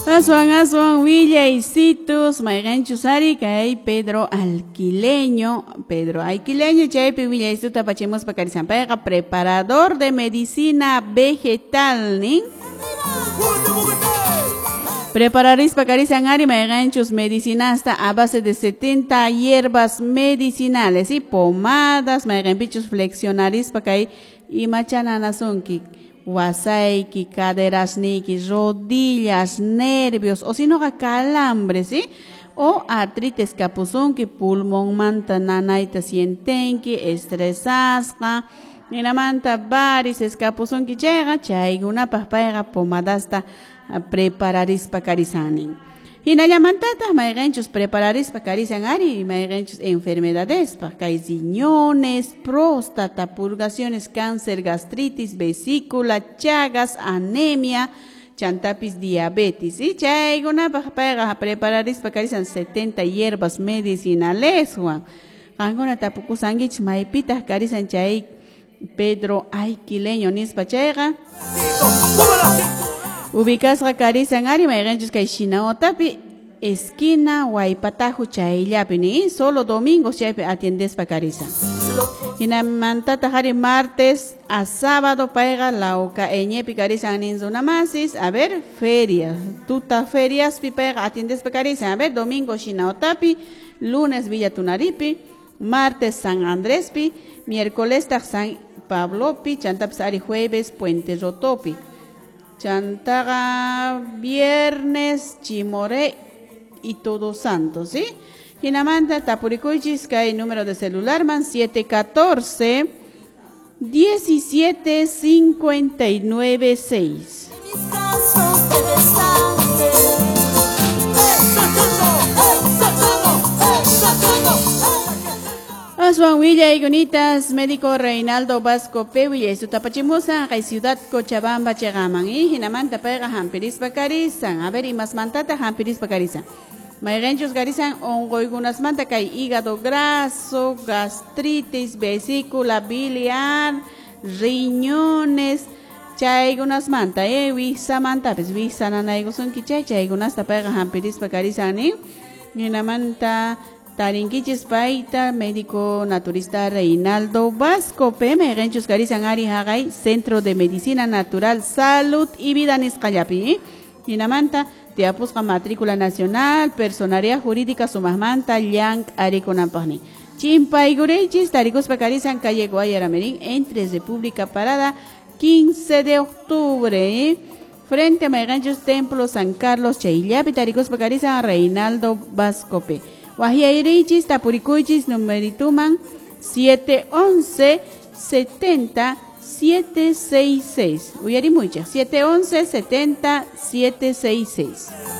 Aswan aswan willaysitus mayqanchus ari kay Pedro Alquileño chaypi willaysituta apachimuspa karisan payqa preparador de medicina vegetal nin. Prepararispa karisan ari mayqanchus medicinasta a base de 70 hierbas medicinales y pomadas mayqanpichus flexionarispa kay imachana nasunki wasayki, caderasniki, rodillas, nervios, o si no calambres, ¿sí? O artritis kapusunki, pulmonmanta nanayta sientenki, estresasqa, ninamanta varices kapusunki chayqa, chaykunapaq payqa pomadasta prepararispa karisanin. Hinallamantataq mayqanchus prepararispa karisan ari mayqanchus enfermedadespaq kay riñones, próstata, purgaciones, cáncer, gastritis, vesícula, chagas, anemia, chantapis diabetes. Y chaykunapaq payqa prepararispa karisan 70 hierbas medicinaleswan. Qankuna tapukusankichis maypitaq karisan chay Pedro Alquileño nispa chayqa. Ubicasqa karisan ari mayqanchus kay Shinaotapi esquina Huaypatajo chayllapi ni solo domingos chaypi atiendespa karisan. Hinamantataq ari martes a sábado payqa Lauca Eñepi karisan nin runamasis, a ver feria, tuta feriaspi payqa atiendespa karisan, a ver domingo Shinaotapi, lunes Villa Tunaripi, martes San Andrespi, miércoles San Pablopi, chantapis ari jueves Puente Rotopi. Chantaga viernes Chimoré y Todos Santos, ¿sí? Hinamanta tapurikuychis kay número de celular man 714 17 59 6. Aswan willayunitas, médico Reinaldo Vasco P. Willaysuta kay Ciudad Cochabamba chegaman y hinamanta payqa hampirispa karisan. A ver, imasmantata hampirispa karisan. Mayqanchus karisan onquykunasmanta kay hígado graso, gastritis, vesícula biliar, riñones, chaykunasmanta, wiksamantapis, wiksa nanaykusunki chay, chaykunasta payqa hampirispa karisan nin. Hinamanta tarinkichis payta, médico naturista Reinaldo Vasco P. Mayqanchus karisan ari haqay Centro de Medicina Natural, Salud y Vida nisqallapi. Hinamanta tiyapusqa matrícula nacional, personalidad jurídica sumaqmanta llank arikunanpaqnin. Chimpayguraychis tarikuspa karisan calle Guayaramerín entre República Parada 15 de octubre. Frente a mayqanchus Templo San Carlos chayllapi tarikuspa karisan Reinaldo Vasco P. Wahyayrichis tapurikuychis numerituman 711 70 766. Uyarimuychaq 711 70 766.